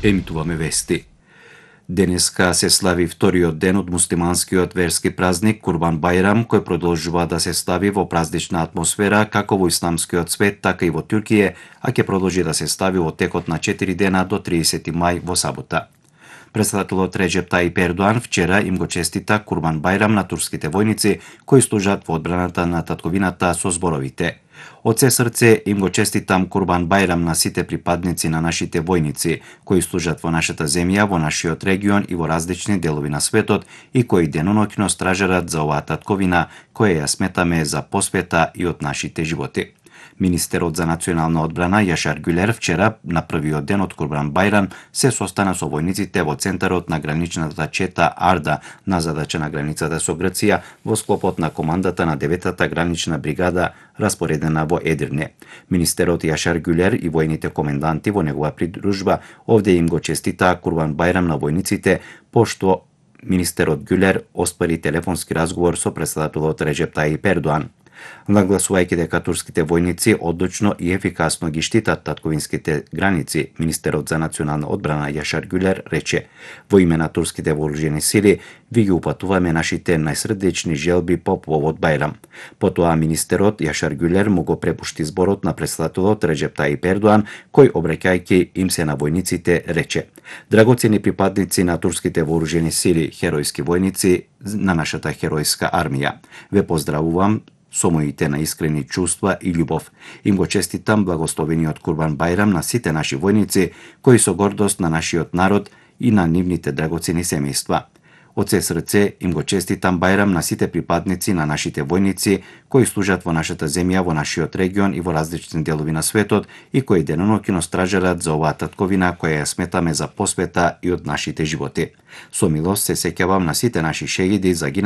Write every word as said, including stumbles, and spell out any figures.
Емитуваме вести. Денеска се слави вториот ден од муслиманскиот верски празник Курбан Бајрам, кој продолжува да се слави во празнична атмосфера како во исламскиот свет, така и во Туркија, а ќе продолжи да се слави во текот на четири дена до триесети мај во сабота. Претседателот Реджеп Тајип Ердоан вчера им го честита Курбан Бајрам на турските војници кои служат во одбраната на татковината со зборовите: "Од се срце им го честитам Курбан Бајрам на сите припадници на нашите војници кои служат во нашата земја, во нашиот регион и во различни делови на светот и кои деноноќно стражарат за оваа татковина која ја сметаме за посвета и од нашите животи." Министерот за национална одбрана Јашар Гюлер вчера на првиот ден од Курбан Бајрам се состана со војниците во центарот на граничната чета Арда на задача на границата со Грција во склопот на командата на деветата гранична бригада распоредена во Едирне. Министерот Јашар Гюлер и војните коменданти во негова придружба овде им го честитаа Курбан Бајрам на војниците, пошто министерот Гюлер оспари телефонски разговор со претседателот Реджеп Тајип Ердоан. Нагласувајќи дека турските војници одлучно и ефикасно ги штитат татковинските граници, министерот за национална одбрана Јашар Гюлер рече: "Во име на турските вооружени сили ви ги упатуваме нашите најсрдечни желби по повод Бајрам." Потоа министерот Јашар Гюлер му го препушти зборот на претседателот Реджеп Тајип Ердоан, кој обраќајќи им се на војниците рече: "Драгоцени припадници на турските вооружени сили, херојски војници на нашата херојска армија, ве поздравувам со моите наискрени чувства и љубов. Им го честитам благословениот Курбан Бајрам на сите наши војници, кои со гордост на нашиот народ и на нивните драгоцени семејства. Од се срце им го честитам Бајрам на сите припадници на нашите војници, кои служат во нашата земја, во нашиот регион и во различни делови на светот и кои деноноќно стражарат за оваа татковина која ја сметаме за посвета и од нашите животи. Со милост се сеќавам на сите наши шејиди загинали